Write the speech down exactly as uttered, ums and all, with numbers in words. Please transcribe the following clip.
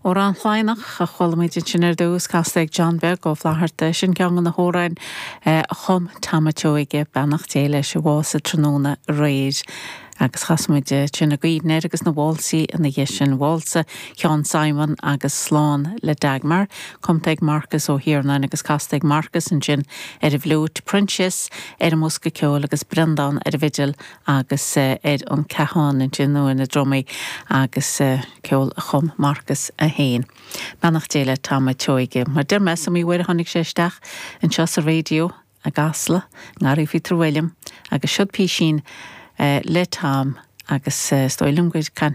Amhrán Laighneach a chuala muid sin ar dtús casta ag John Beag Ó Flatharta sin ceann de na hamhráin a chum Tom Seoige beannacht Dé leis a bhásaigh tráthnóna aréir. agus chas muid sin i gcuimhne air agus na válsaí ina dhiaidh sin válsa Sheán Simon agus slán le Dagmar, cumtha ag Marcus Ó hIarnáin agus casta ag Marcus ansin ar an bhfliúit Proinsias ar an mbosca ceoil agus Breandán ar an bhfidil agus ar an cajón ansin nó ar na drumaí agus ceol a chum Marcus é féin. Beannacht Dé le Tom Seoige, mar deir mé sa mí uair tháinig sé isteach anseo sa raidió i gCasla, nGarraí Phíotair William agus siod písín le Tom agus is dóigh liom gur caint